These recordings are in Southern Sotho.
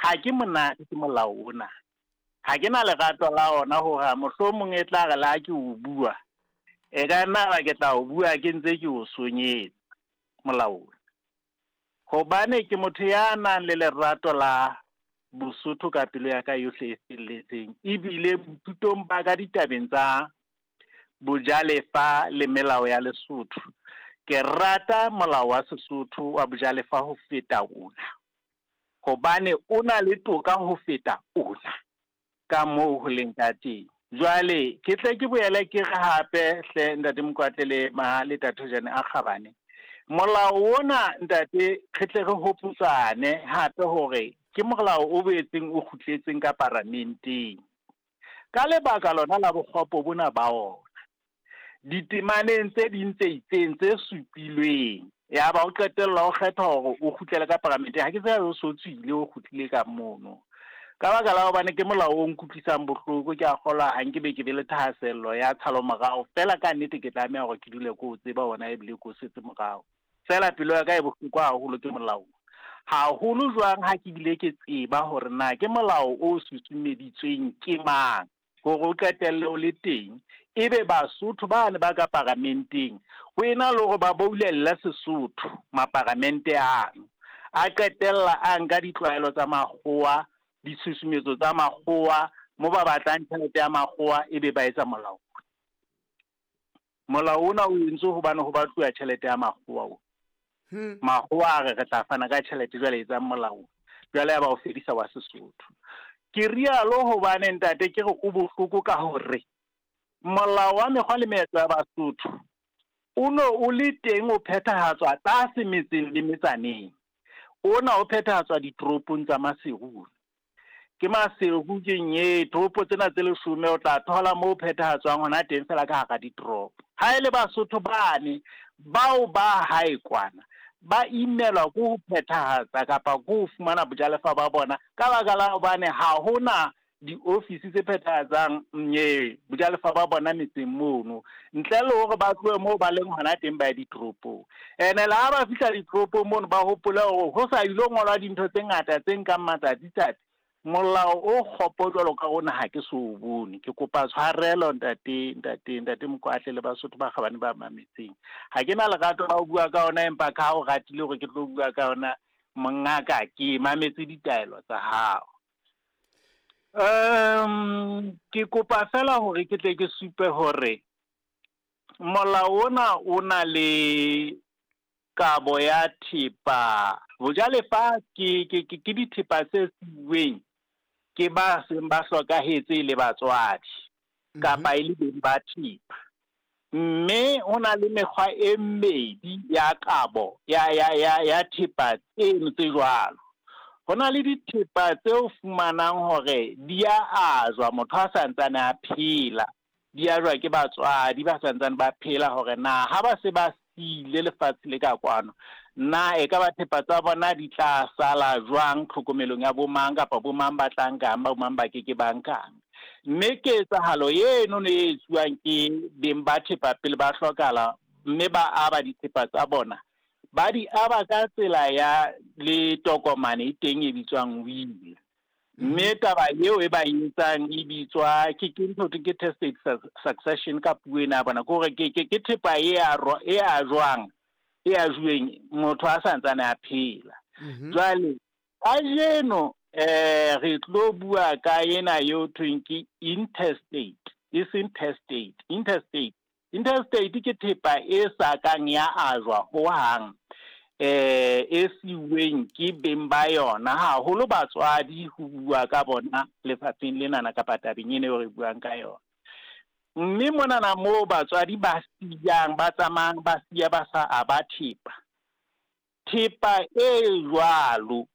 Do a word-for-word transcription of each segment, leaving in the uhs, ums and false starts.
Ha ke monate ke molao ona. Ha ke na lerato la ona hore mohlomong e tla re la ke o bua. E ka nna ba ke tla o bua ke ntse ke o sonyetsa molao ona. Hobane ke motho ya nang le lerato la Bosotho ka pelo ya ka yohle e felletseng. Ebile boithutong ba ka ditabeng tsa bojalefa le melao ya Lesotho. Ke rata molao wa Sesotho wa bojalefa ho feta ona. Hobane o na le toka ho feta ona. Ka moo ho leng ka teng. Jwale ke tle ke boele ke re hape hle ntate Mokwatle le Mahale Thathojane a kgabane. Molao ona ntate re tle re hopotsane hape hore ke molao o boetseng o kgutletseng ka paramenteng. Ka lebaka lona la bokgopo bona ba ona. Ditemaneng tse ding tse itseng tse supilweng ya ba o qetella o kgetha hore o kgutlele ka paramenteng. Ha ke tsebe o so tswile o kgutlile ka mono. Ka baka la hobane ke molao o nkutlwisang bohloko, ke a kgolwa ha nke be ke be le thahasello ya tshalo morao. Feela ka nnete ke tlameha hore ke dule ke o tseba ona ebile ke o setse morao. Feela pelo ya ka e bohloko haholo ke molao. Haholo jwang ha ke bile ke tseba hore na ke molao o susumeditsweng ke mang hore o qetelle o le teng. Ebe Basotho bane ba ka paramenteng ho ena le hore ba boulelle Sesotho maparamente ano a qetella a nka ditlwaelo tsa makgowa, ditshusumetso tsa makgowa mo ba batlang tjhelete ya makgowa ebe ba etsa molao. Molao ona o entswe hobane ho batluwa tjhelete ya makgowa o. Hmm. Makgowa a re re tla fana ka tjhelete jwale etsang molao. Jwale ya ba o fedisa wa Sesotho. Ke rialo hobane ntate ke re o bohloko ka hore molao wa mekgwa le meetlo ya Basotho o no o le teng o phethahatswa tlase metseng le metsaneng. Ona o phethahatswa ditoropong tsa Maseru. Ke Maseru ke nye toropo tsena tse leshome o tla thola moo phethahatswang hona teng fela ka hara ditoropo. Ha e le Basotho bane bao ba hae kwana ba imelwa ke ho phethahatsa kapa ke ho fumana bojalefa ba bona ka baka la hobane ha hona diofisi tse phethahatsang nye bojalefa ba bona metseng mono ntle le hore ba tlohe moo ba leng hona teng ba ye ditoropong. Ene le ha ba fihla ditoropong mono ba hopole hore ho sa ilo ngolwa dintho tse ngata tse nkang matsatsi tsatsi. Molao o kgopo jwalo ka ona ha ke so o bone. Ke kopa tshwarelo ntate ntate ntate Mokwatle le Basotho ba kgabane ba mametseng. Ha ke na lerato la ho bua ka ona empa ka ha o ratile hore ke tlo bua ka ona mongaka ke mametse ditaelo tsa hao. Um ke kopa fela hore ke tle ke supe hore molao ona o na le kabo ya thepa. Bojalefa ke ke ke dithepa tse siuweng ke ba seng ba hlokahetse le batswadi kapa e le beng ba thepa. Mme ho na le mekgwa e mmedi ya kabo ya ya ya ya thepa tseno tse jwalo. Ho na le dithepa tseo fumanang hore di a ajwa motho a santsane a phela, di ajwa ke batswadi ba santsane ba phela hore na ha ba se ba siile lefatshe le ka kwano na e ka ba thepa tsa bona di tla sala jwang tlhokomelong ya bo mang kapa bo mang ba tla nkang ba bo mang ba keke ba nkang. Mme ketsahalo eno ne e etsuwang ke beng ba thepa pele ba hlokahala mme ba aba dithepa tsa bona ba di aba ka tsela ya le tokomane e teng e bitswang will. Mme taba eo e ba etsang e bitswa ke ke ntho ke testate succession ka puo ena ya bona, ke hore ke ke ke thepa e a e a jwang e a juweng motho a santsane a phela. Jwale kajeno eh re tlo bua ka ena eo thweng ke intestate, e seng testate. Intestate intestate ke thepa e sa kang ya ajwa hohang eh e siuweng ke beng ba yona haholo batswadi ho bua ka bona lefatsheng lenana kapa tabeng ena eo re buang ka yona. Mme monana moo batswadi ba siyang ba tsamayang ba siya ba sa aba thepa. Thepa e jwalo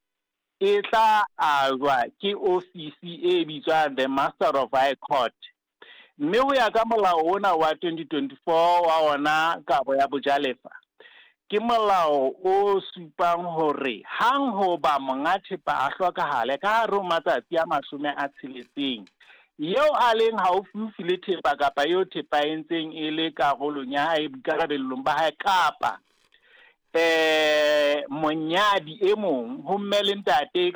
e tla ajwa ke ofisi e bitswang the Master of High Court. Mme ho ya ka molao ona wa twenty twenty-four wa ona kabo ya bojalefa ke molao o supang hore hang ho ba monga thepa a hlokahale ka hare ho matsatsi a mashome a tsheletseng eo a leng haufiufi le thepa kapa eo thepa e ntseng e le karolong ya hae boikarabellong ba hae kapa eh monyadi e mong ho mme le ntate